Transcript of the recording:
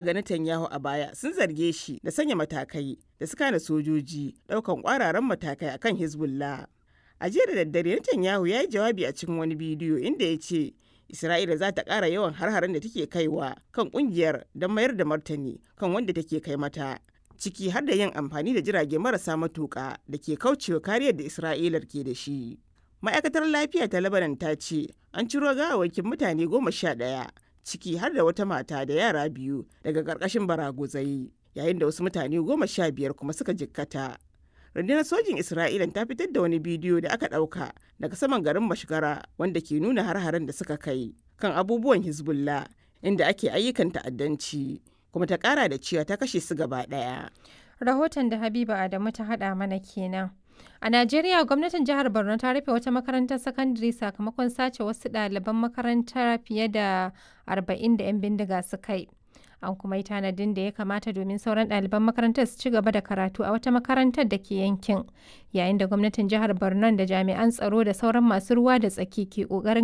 Ga Netanyahu a baya sun zarge shi da sanya matakai da suka hana sojoji daukan kwararan matakai akan Hezbollah. A jiya da daddare, Netanyahu ya yi jawabi a cikin wani bidiyo inda ya ce Isra'ila za ta kara yawan har-haren da take kaiwa kan kungiyar don mayar da martani kan wanda take kai mata, ciki har da yin amfani da jirage marasa matuka da ke kaucewa kariyar da Isra'ilar ke da shi. Ma'aikatar lafiya ta Lebanon ta ce an ciro gawawwakin mutane 11, ciki har da wata mata da yara biyu, daga ƙarƙashin baraguzai, yayin da wasu mutane 15 kuma suka jikkata. Rundunar sojin Isra'ila ta fitar da wani bidiyo da aka ɗauka daga saman garin Mashgara wanda ke nuna har-haren da suka kai kan abubuwan Hezbollah inda ake ayyukan ta'addanci, kuma ta ƙara da cewa ta kashe su gaba ɗaya. Rahoton da Habiba Adamu ta haɗa mana kenan. A Najeriya, gwamnatin jihar Borno ta rufe wata makarantar sakandare sakamakon sace wasu ɗaliban makarantar fiye da 40 da 'yan bindiga suka yi. An kuma yi tanadin da ya kamata domin sauran ɗaliban makarantar su ci gaba da karatu a wata makarantar da ke yankin, yayin da gwamnatin jihar Borno da jami'an tsaro da sauran masu ruwa da tsaki ke ƙoƙarin